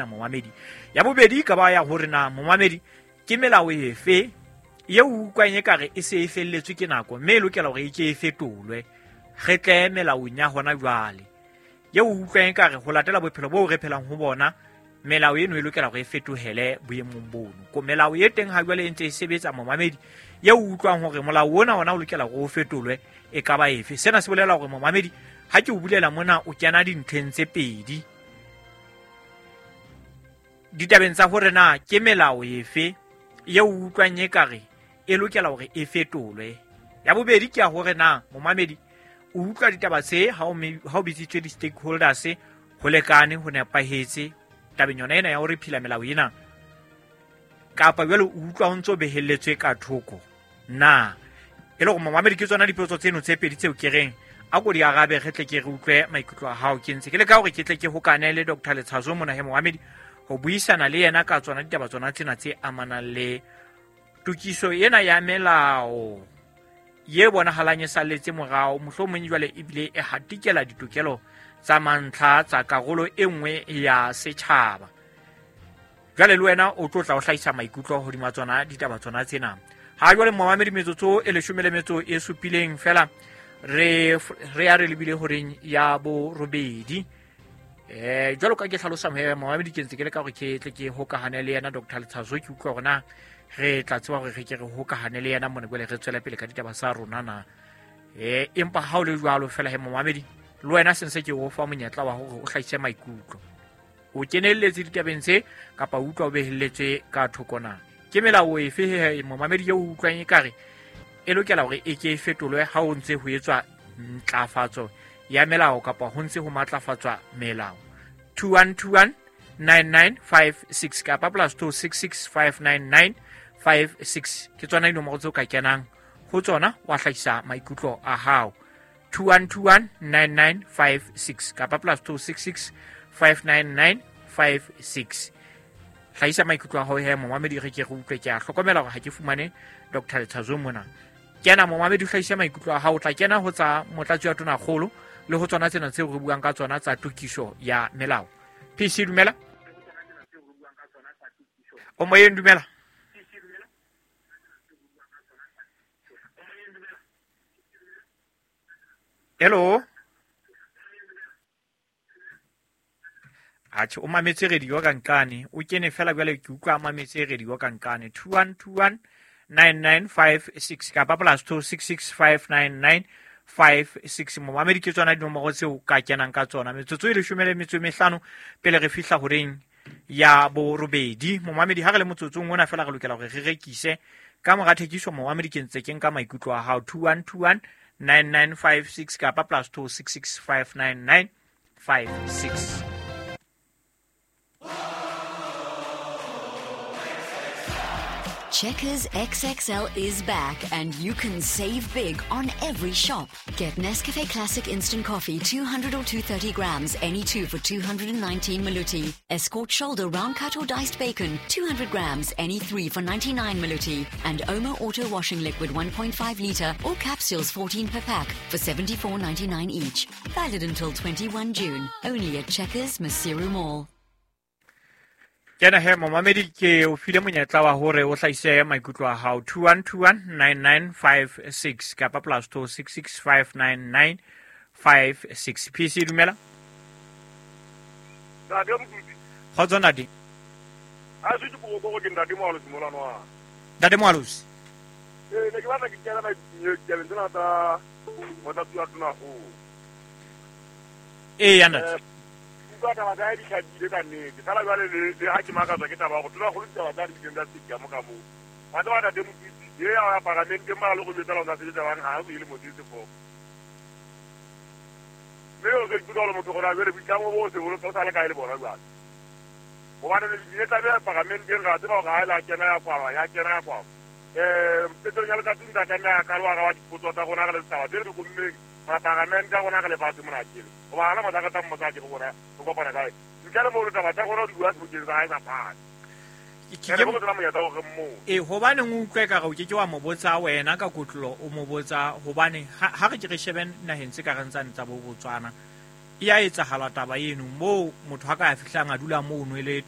Momamedi, ya bobedi e ka ba ya hore na momamedi ke melao efe eo o utlwang ekare e se e felletswe ke nako, mme e lokela hore e ke e fetolwe, re tle melaong ya hona jwale. Eo o utlwang ekare ho latela bophelo boo re phelang ho bona, melao eno e lokela hore e fetohele boemong bono. Ko melao e teng ha jwale e ntse e sebetsa, momamedi, eo o utlwang hore molao ona ona o lokela hore o fetolwe, e ka ba efe? Sena se bolela hore momamedi, ha ke o bulela mona, o kena dintlheng tse pedi ditabeng tsa hore na ke melao efe eo o utlwang ekare e lokela hore e fetolwe. Ya bobedi ke ya hore na momamedi o utlwa ditaba tse ha o bitsitswe di-stakeholders ho lekane, ho nepahetse tabeng yona ena ya hore phila melao ena, kapa jwale o utlwa ho ntso behelletswe ka thoko na. E le hore momamedi, ke tsona dipotso tseno tse pedi tseo ke reng a ko di arabe, re tle ke re utlwe maikutlo a hao. Ke ntse ke leka hore ke tle ke hokane le Dr. Letshazo mona he momamedi, ho buisana le yena ka tsona ditaba tsona tsena tse amanang le tokiso ena ya melao ye bonahalang e salletse morao, mohlomong jwale ebile e hatikela ditokelo tsa mantlha tsa karolo e nngwe ya setjhaba. Jwale le wena o tlo tla o hlahisa maikutlo hodima tsona ditaba tsona tsena. Ha jwale momamedi, metsotso e 17 feela re ya re lebile horeng ya borobedi. Jwalo ka ke hlalosa momamedi, ke ntse ke leka hore ke tle ke hokahane le yena Dr. Letshazo, ke utlwa hore na re tla tseba hore re ke re hokahane le yena mona jwale re tswele pele ka ditaba tsa rona na. Empa ha o le jwalo fela he momamedi, le wena se ntse ke o fa monyetla wa hore o hlahise maikutlo, o kenelletse ditabeng tse kapa o utlwa o behelletswe ka thoko na. Ke melao efe he momamedi eo o utlwang ekare e lokela hore e ke e fetolwe ha o ntse ho etswa ntlafatso ya melao kapa ho ntse ho matlafatswa melao? 2121 9956 kapa +266 599 56 ke tsona dinomoro tseo ka kenang ho tsona wa hlahisa maikutlo a hao. 2121 9956 kapa +266 599 56. Hlahisa maikutlo a hao he momamedi, re ke re utlwe. Ke a hlokomela hore ha ke fumane Dr. Letshazo mona. Kena momamedi, o hlahise maikutlo a hao, o tla kena ho tsa motlatsi wa tonakgolo le ho tsona tsena tseo re buang ka tsona tsa tokiso ya melao. PC, dumela. O moyeng, dumela. Hello. Atjhe, o mametse radio ka nqane, o kene fela jwale ke utlwa a mametse radio ka nqane. 2121 9956 kapa +266 599 56. Momamedi, ke tsona dinomoro tseo ka kenang ka tsona. Metsotso e 15 pele re fihla horeng ya borobedi. Momamedi, ha re le motsotsong ona fela re lokela hore re rekise. Ka mora thekiso momamedi, ke ntse ke nka maikutlo a hao. 2121 9956 kapa +266 599 56. Checkers XXL is back and you can save big on every shop. Get Nescafe Classic Instant Coffee 200 or 230 grams, any two for 219 Maluti. Escort Shoulder Round Cut or Diced Bacon, 200 grams, any three for 99 Maluti. And Omo Auto Washing Liquid 1.5 litre or capsules 14 per pack for 74.99 each. Valid until 21 June, only at Checkers Maseru Mall. Kena he momamedi, ke o file monyetla wa hore o hlahise maikutlo a hao. 2121 9956 kapa +266 599 56. PC, dumela. Ntate Mokuti. Kgotso ntate. Ha se ke go ke ntate Moalosi mola nwa. Ntate Moalosi. Ne ke batla ke kena ditabeng tsena tsa motlatsi wa tonakgolo. Ee, ntate. Utlwa taba tsa hae di hlakile ka nnete. Fela jwale le ha ke makatswa ke taba ya hore tonakgolo ditaba tsa hae di tsa se mo ka moo. Wa tseba ntate Mokuti, ye ya paramenteng mara le go jwetsa la o sebetsa bang ha o ile mosese fo. Mme o se ikutlwa hore motho gona jwale boitlamo bo se boloka o sa le kae le bona jwale. Hobane le tlabe ya paramenteng ra tseba hore ha e la kena ya kwalwa, ya kena ya kwalwa. Petrong ya letsatsi ntse a tlameha ka lo araba dipotso tsa rona re le setjhaba tse re di kommeng paramente ya rona re lefatshe mona kele. Hoba hana motho a ka tla mmotsa ke rona re kopana kae. Ntle le moo taba tsa rona di bua sebokeng sa hae sa phane. E hobane o utlwe ka re o ke ke wa mo botsa wena ka kotlolo, o mo botsa hobane ha re ke re shebe naheng tse ka reng tsane tsa bo Botswana. E ya etsahala taba eno moo motho a ka ya fihlang a dula mono e le